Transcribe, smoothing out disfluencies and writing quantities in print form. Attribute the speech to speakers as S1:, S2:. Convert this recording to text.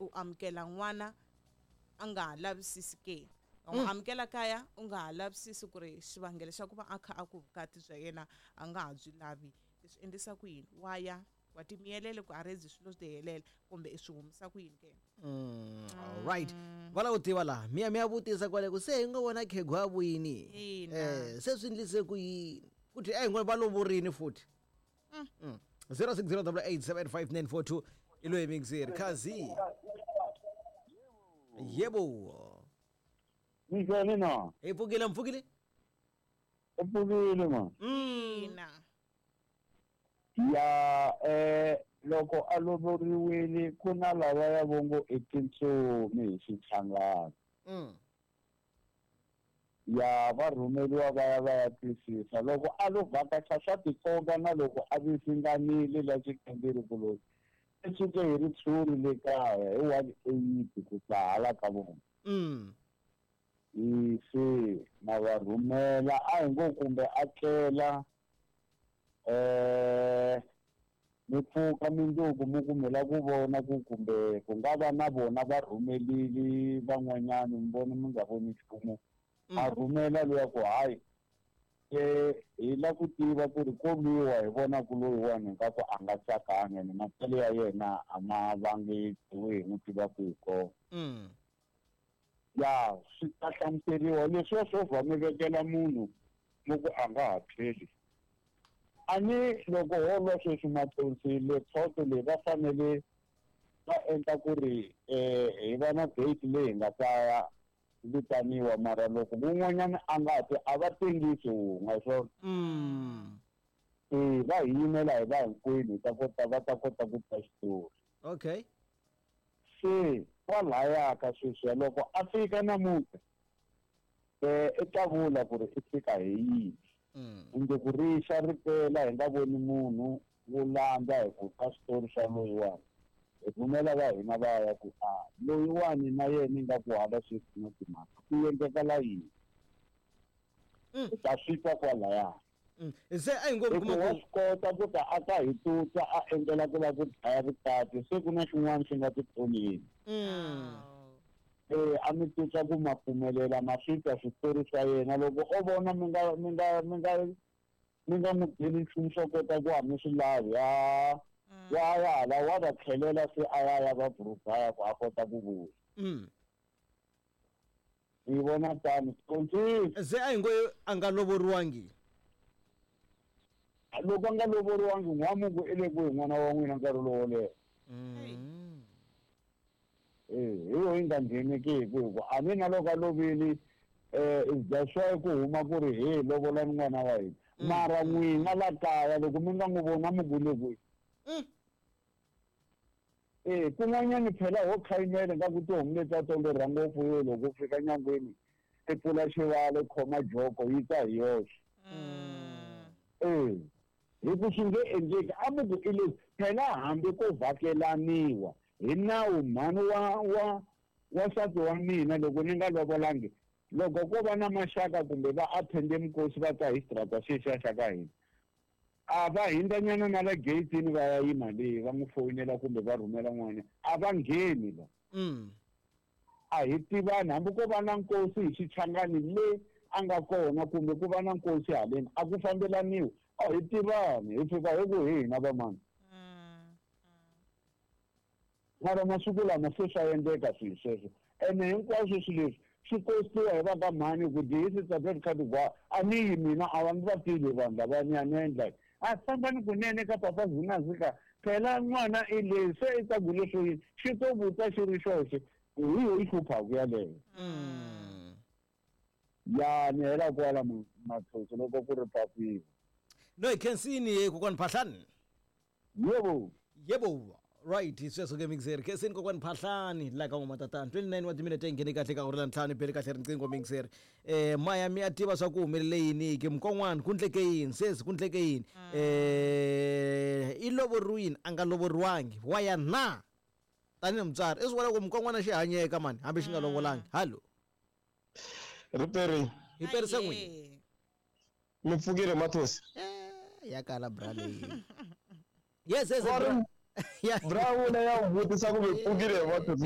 S1: U amukela n'wana a nga ha lavisisi ke? U n'wi amukela kaya u nga ha lavisisi ku ri xivangelo xa ku va a kha a ku vukati bya yena a nga ha byi lavi i swi endlisa ku yini? Wa ya wa timiyelele ku a redzi swilo swi tihelela kumbe i swi humisa ku yini ke?
S2: Alright, va lava ku tiva laha mi ya mi ya vutisa kwale ku se hi ngo vona khegwa a vuyini.
S1: Ina.
S2: Se swi ndlise ku yini futhi? A hi ngo va lovorini futhi. 0608875942 i loyi mixer khazi. Yebo.
S3: Minjhani na?
S2: Hi pfukile, mpfukile.
S3: U pfukile ma?
S1: Ina.
S3: Ya, loko a lovoriwile ku na lava ya vongo i tintsumi hi Xichangani. Ya, va rhumeriwa va ya va ya twisisa. Loko a lo vhakacha swa tikomba na loko a visinganile la xikamberi ku loyi i suke hi ritshuri le kaya hi 180 ku ta hala ka vona. I se na va rhumela a hi ngo kumbe a tlela, mi pfuka mindzuku mi ku mi la ku vona ku kumbe ku nga va na vona va rhumelile van'wanyana, mi vona mi nga voni nchumu. A rhumela luya ku hayi, hi la ku tiva ku ri ko lwiwa hi vona ku loyiwani ingaku a nga tsakanga ene matselo ya yena a ma vangi hi n'wi tiva ku hi kona. Ya, swi ta hlamuseriwa leswiya swo vha mi vekela munhu mi ku a nga ha tlheli. A ni loko ho lwa sweswi Mathonsi le khoto leyi va fanele va endla ku ri hi va na date leyi hi nga ta vitaniwa, mara loko wun'wanyana a nga ti a va tengisi wun'we swona. Va hi yimela hi va hinkwenu hi ta kota va ta kota ku twa xitori. Se kwalaya ka sweswiya loko a fika namuntlha, i ta vula ku ri i fika hi yini. Kumbe ku rixa ri pela hi nga voni munhu wo landza hi ku ka switori swa loyiwani. Hi rhumela va hina va ya ku a loyiwani na yena ingaku hala sweswi na timhaka ku endlekala yini. Hi ta swi twa kwalaya.
S2: Se a hi ngo
S3: Hi
S2: kuma
S3: ku wa
S2: ku
S3: swi kota ku ta a ta hi tutsa a endlela ku lava ku dlaya vukati, se ku na xin'wana xi nga titloleni. A mi tutsa ku ma pfumelela ma swi twa switori swa yena. Loko o vona mi nga, mi nga, mi nga, mi nga n'wi byeli nchumu swo kota ku a mi swi lavi, wa ya hala wa va tlhelela se a ya ya va burugaya ku a kota ku vuya. Hi vona tano. Kontsisi.
S2: Se a hi ngo a nga lovoriwangi.
S3: Loko a nga lovoriwangi, n'wamungu i le kwihi n'wana wa n'wina nkarhi lowo leha? Hi yo yi nga ngheneki hi ku hi ku a ni na loko a lovile, is just why ku huma ku ri he lovolani n'wana wa hina. Mara n'wina la kaya loko mi nga n'wi voni a mi ku le kwihi? Kun'wanyani phela ho khayimela nga ku tihomu leti ta tolorha ngopfu yo loko u fika nyangweni i pfula xivalo khoma joko yi ta hi yoxe. Hi ku swi nge endleki a mi ku i leswi phela hambi ko vhakelaniwa hi nawu mhani wa nsati wa mina loko ni nga lovolangi, loko ko va na maxaka kumbe va attende mikosi va ta hi xitarata xexiya xa ka hina, a va hindzanyana na la gate-ini va ya yima le va n'wi foyinela kumbe va rhumela n'wana, a va ngheni la. A hi tivani hambi ko va na nkosi hi Xichangani le a nga kona kumbe ku va na nkosi haleni a ku fambelaniwi, a hi tivani hi fika hi ku hi hina vamani. Mara masiku lama se swa endleka swilo sweswo, ene hinkwaswo swilo leswi swi kostiwa hi va ka mhani ku dihisi tsa kha tigwa a ni yi mina a va ni va tivi vanhu lava ni ya ni endla a fambani kunene ka papa Zunazika phela n'wana i le se i ta ku leswo yini xi to vutsa xi ri xoxe hi yo yi hluphaku yaleyo. Ya ni hela kwala Mathonsi loko ku ri papila.
S2: No hi khensini ye kokwani Phahlani.
S3: Yebo.
S2: Yebo. Right, sweswo ke mixer. Khensini kokwani Phahlani la ka n'wamatatana. 29 wa timinete nghene kahle ka hora la ntlhanu bele kahle riqingho mixer. Maya mi ya tiva swa ku humelele yini ke mukon'wana ku ndleke yini sesi ku ndleke yini. I lovoriwini a nga lovoriwangi wa ya na tanihi mutswari i swi vona ku mukon'wana xi hanyeka mani hambi xi nga lovolangi. Hallo.
S4: Riperi.
S2: Hi perisa n'wini.
S4: Mi pfukile Mathonsi?
S2: Ya kala bra leyi. Yes, yes,
S4: Bra
S2: bra. Ya.
S4: Bra wena ya vutisa ku mi pfukile Mathonsi.